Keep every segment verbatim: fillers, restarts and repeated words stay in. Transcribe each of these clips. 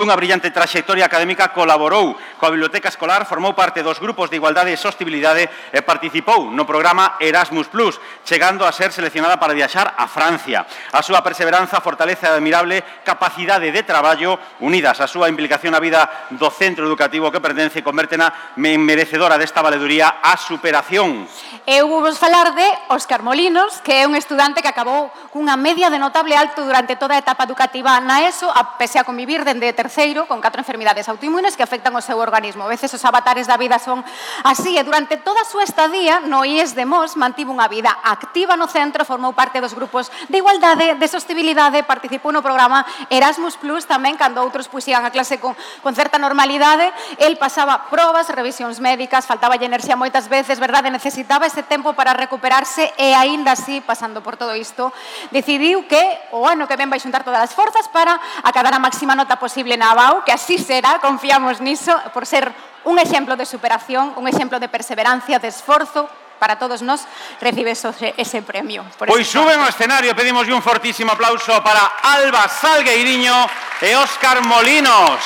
dunha brillante traxectoria académica, colaborou coa Biblioteca Escolar, formou parte dos grupos de igualdade e sostibilidade e participou no programa Erasmus plus, chegando a ser seleccionada para viaxar a Francia. A súa perseveranza, fortaleza e admirable capacidade de traballo, unidas á súa implicación na vida do centro educativo que pertence, convértena en merecedora desta valeduría a superación. Eu vos falar de Óscar Molinos, que é un estudante que acabou cunha media de notable alto durante toda a etapa educativa na ESO, a pese a convivir dende terceiro con catro enfermidades autoinmunes que afectan o seu organismo. A veces os avatares da vida son así, e durante toda a súa estadía no I E S de Mos mantivo unha vida activa no centro, formou parte dos grupos de igualdade, de sostibilidade, participou no programa Erasmus plus, tamén cando outros puxían a clase con, con certa normalidade, el pasaba probas, revisións médicas, faltaba enerxía moitas veces, verdade, necesitaba ese tempo para recuperarse e aínda así, pasando por todo isto, decidiu que o ano que ven vai xuntar todas as forzas para acadar a máxima nota posible na A B A U, que así será, confiamos niso, por ser un exemplo de superación, un exemplo de perseverancia, de esforzo, para todos nós, recibe ese premio. Pois suben ao escenario, pedimos un fortísimo aplauso para Alba Salgueiriño e Óscar Molinos.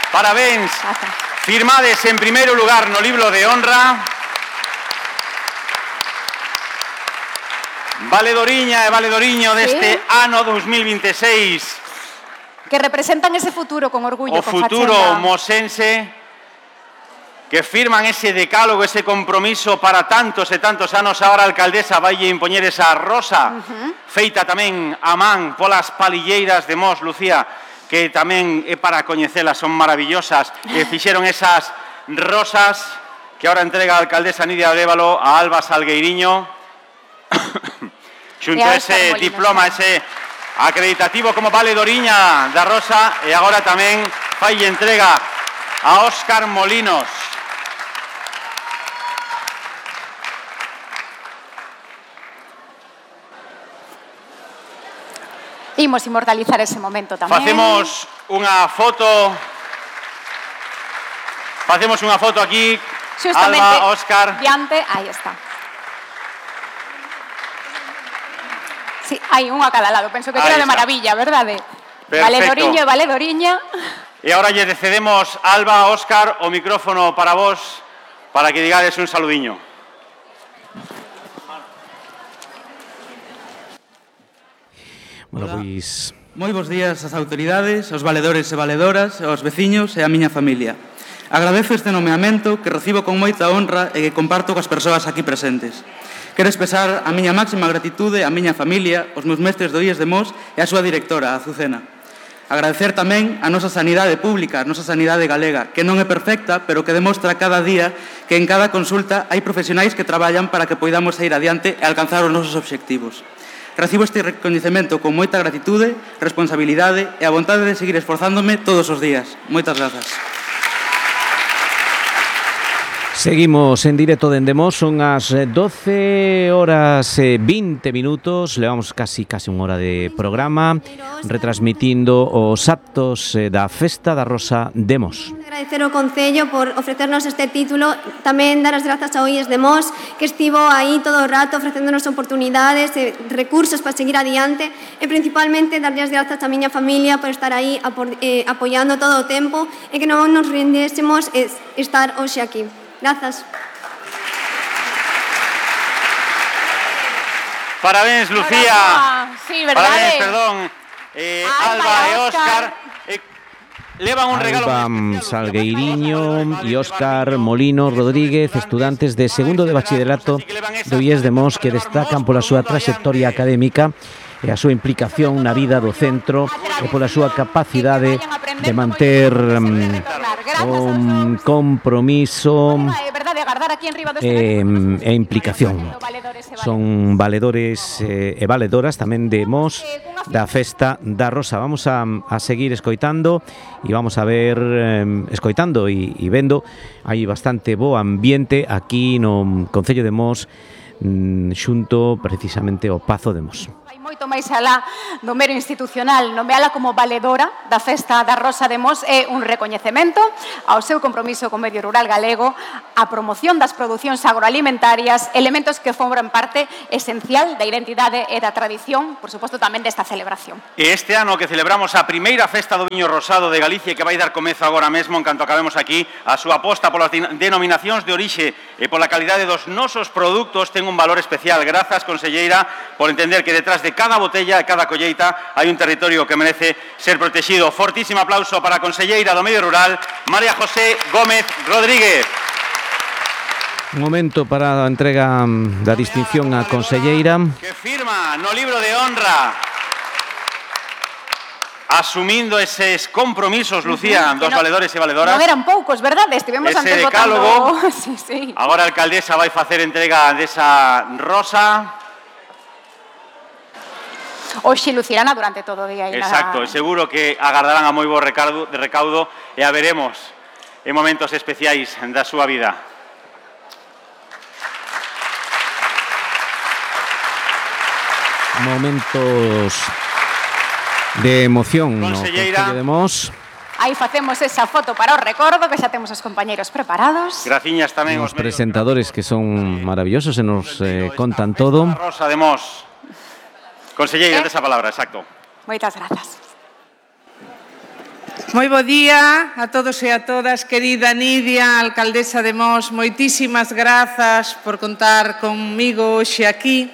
Parabéns, firmades en primeiro lugar no libro de honra. Valedoriña e valedoriño deste ano dos mil veintiséis. Que representan ese futuro con orgullo. O futuro mosense, que firman ese decálogo, ese compromiso para tantos e tantos anos. Ahora a alcaldesa vai impoñer esa rosa, feita tamén a man polas palilleiras de Mos, Lucía, que tamén é para coñecelas, son maravillosas, e fixeron esas rosas que ahora entrega a alcaldesa Nidia Arévalo a Alba Salgueiriño, xunto a ese diploma, ese acreditativo como valedoriña da rosa, e agora tamén fai entrega a Óscar Molinos. Imos inmortalizar ese momento tamén. Facemos unha foto. Facemos unha foto aquí. Alba, Óscar. Diante, aí está. Sí, hai unha a cada lado. Penso que queda de maravilla, verdade? Valedoriño e valedoriña. E agora lle cedemos, Alba, Óscar, o micrófono para vos, para que digades un saludiño. Bueno, pois... Moi bons días ás autoridades, aos valedores e valedoras, aos veciños e á miña familia. Agradezo este nomeamento que recibo con moita honra e que comparto coas persoas aquí presentes. Quero expresar a miña máxima gratitude á miña familia, aos meus mestres do I E S de Mos e á súa directora, a Azucena. Agradecer tamén a nosa sanidade pública, a nosa sanidade galega, que non é perfecta, pero que demostra cada día que en cada consulta hai profesionais que traballan para que poidamos ir adiante e alcanzar os nosos obxectivos. Recibo este recoñecemento con moita gratitude, responsabilidade e a vontade de seguir esforzándome todos os días. Moitas grazas. Seguimos en directo dende Mos, son as doce horas e vinte minutos, levamos casi casi unha hora de programa, retransmitindo os actos da Festa da Rosa de Mos. Agradecer ao Concello por ofrecernos este título, tamén dar as grazas ao I E S de Mos, que estivo aí todo o rato ofrecéndonos oportunidades e recursos para seguir adiante, e principalmente darlle as grazas á miña familia por estar aí apoiando todo o tempo e que non nos rendésemos estar hoxe aquí. Grazas. Parabéns, Lucía. Sí, verdade. Parabéns, perdón. Eh, Alba e Óscar. Eh, levan un regalo. Alba Salgueiriño e Óscar Molinos Rodríguez, estudantes de segundo de bachillerato do I E S de Mos, que destacan pola súa traxectoria académica e a súa implicación na vida do centro e pola súa capacidade de manter un compromiso e, e implicación. Son valedores e valedoras tamén de Mos da Festa da Rosa. Vamos a, a seguir escoitando e vamos a ver, eh, escoitando e, e vendo, hai bastante bo ambiente aquí no Concello de Mos, xunto precisamente ao Pazo de Mos. Vai moito máis alá do mero institucional. Nomeala como valedora da Festa da Rosa de Mos é un recoñecemento ao seu compromiso co medio rural galego, a promoción das producións agroalimentarias, elementos que forman parte esencial da identidade e da tradición, por suposto tamén desta celebración. E este ano que celebramos a primeira Festa do Viño Rosado de Galicia, que vai dar comezo agora mesmo, en canto acabemos aquí, a súa aposta polas denominacións de orixe e pola calidade dos nosos produtos ten un valor especial. Grazas, conselleira, por entender que detrás de cada botella, de cada colleita, hai un territorio que merece ser protegido. Fortísimo aplauso para a conselleira do Medio Rural, María José Gómez Rodríguez. Un momento para a entrega da distinción á conselleira. Que firma no libro de honra, asumindo eses compromisos, Lucía, dos valedores e valedoras. Non eran poucos, verdade? Estivemos Ese antes decálogo. votando... Sí, sí. Agora a alcaldesa vai facer entrega desa rosa. Hoxe lucirana durante todo o día. Exacto, e seguro que agardarán a moi bo recaudo, de recaudo e a veremos en momentos especiais da súa vida. Momentos de emoción no Conselleira. Concello de Mos. Aí facemos esa foto para o recordo, que xa temos os compañeiros preparados. Graciñas tamén Os aos medios presentadores que son maravillosos e nos eh, contan todo. Rosa de Mos. Conselleira, Eh? desa palabra, exacto. Moitas grazas. Moi bo día a todos e a todas, querida Nidia, alcaldesa de Mos. Moitísimas grazas por contar conmigo hoxe aquí.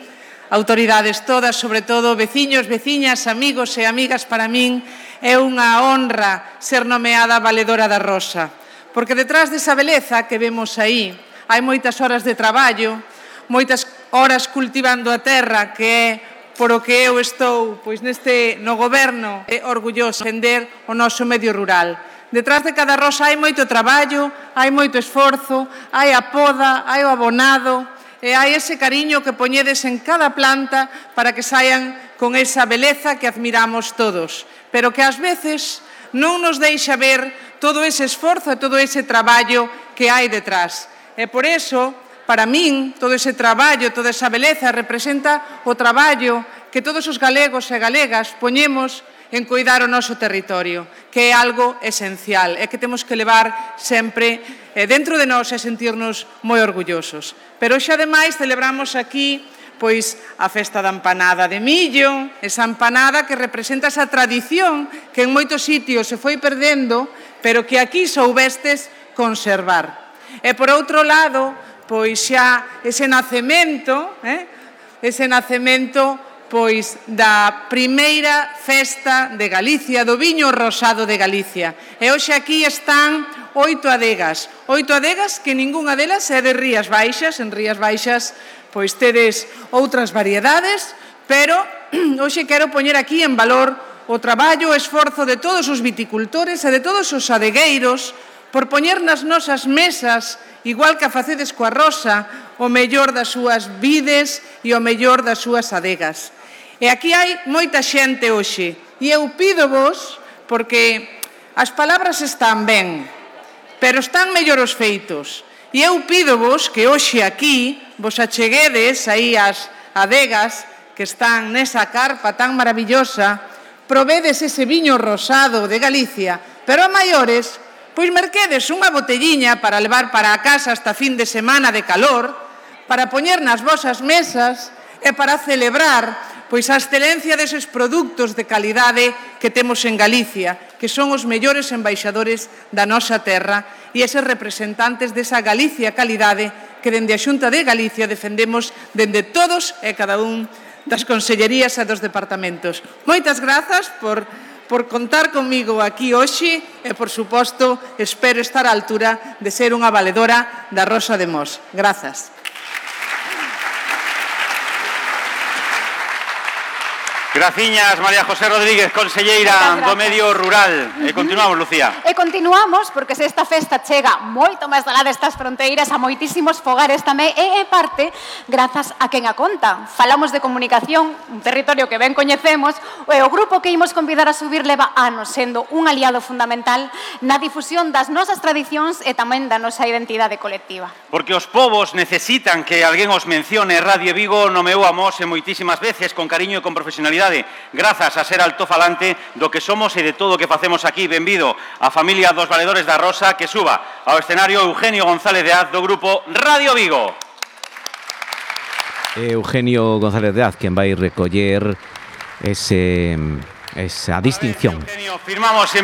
Autoridades todas, sobre todo veciños, veciñas, amigos e amigas, para min é unha honra ser nomeada valedora da Rosa. Porque detrás desa beleza que vemos aí hai moitas horas de traballo, moitas horas cultivando a terra, que é por o que eu estou pois neste no goberno é orgulloso de defender o noso medio rural. Detrás de cada rosa hai moito traballo, hai moito esforzo, hai a poda, hai o abonado, e hai ese cariño que poñedes en cada planta para que saian con esa beleza que admiramos todos, pero que ás veces non nos deixa ver todo ese esforzo e todo ese traballo que hai detrás. E por eso, para min, todo ese traballo, toda esa beleza representa o traballo que todos os galegos e galegas poñemos en cuidar o noso territorio, que é algo esencial e que temos que levar sempre dentro de nós e sentirnos moi orgullosos. Pero xa ademais celebramos aquí pois a festa da empanada de millo, esa empanada que representa esa tradición que en moitos sitios se foi perdendo, pero que aquí soubestes conservar. E por outro lado, pois xa ese nacemento, eh, ese nacemento pois da primeira festa de Galicia, do viño rosado de Galicia. E hoxe aquí están oito adegas, oito adegas que ningunha delas é de Rías Baixas, en Rías Baixas pois tedes outras variedades, pero hoxe quero poñer aquí en valor o traballo, o esforzo de todos os viticultores e de todos os adegueiros por poñer nas nosas mesas, igual que a facedes coa rosa, o mellor das súas vides e o mellor das súas adegas. E aquí hai moita xente hoxe, e eu pido vos, porque as palabras están ben, pero están mellor os feitos, e eu pido vos que hoxe aquí vos acheguedes aí as adegas que están nesa carpa tan maravillosa, provedes ese viño rosado de Galicia, pero a maiores, pois merquedes unha botelliña para levar para a casa hasta fin de semana de calor, para poñer nas vosas mesas e para celebrar pois a excelencia deses produtos de calidade que temos en Galicia, que son os mellores embaixadores da nosa terra e eses representantes desa Galicia calidade que dende a Xunta de Galicia defendemos dende todos e cada un das consellerías e dos departamentos. Moitas grazas por por contar comigo aquí hoxe e, por suposto, espero estar á altura de ser unha valedora da Rosa de Mos. Grazas. Graciñas, María José Rodríguez, conselleira do Medio Rural. E continuamos, Lucía. E continuamos, porque se esta festa chega moito máis alá destas fronteiras, a moitísimos fogares tamén, e é parte grazas a quen a conta. Falamos de comunicación, un territorio que ben coñecemos, e o grupo que imos convidar a subir leva anos sendo un aliado fundamental na difusión das nosas tradicións e tamén da nosa identidade colectiva. Porque os povos necesitan que alguén os mencione. Radio Vigo nomeou a Mos e moitísimas veces con cariño e con profesionalidade. Grazas a ser altofalante do que somos e de todo o que facemos aquí. Benvido a familia dos Valedores da Rosa, que suba ao escenario Eugenio González de Az do grupo Radio Vigo. Eugenio González de Az, quen vai recoller ese, esa distinción. Eugenio, firmamos en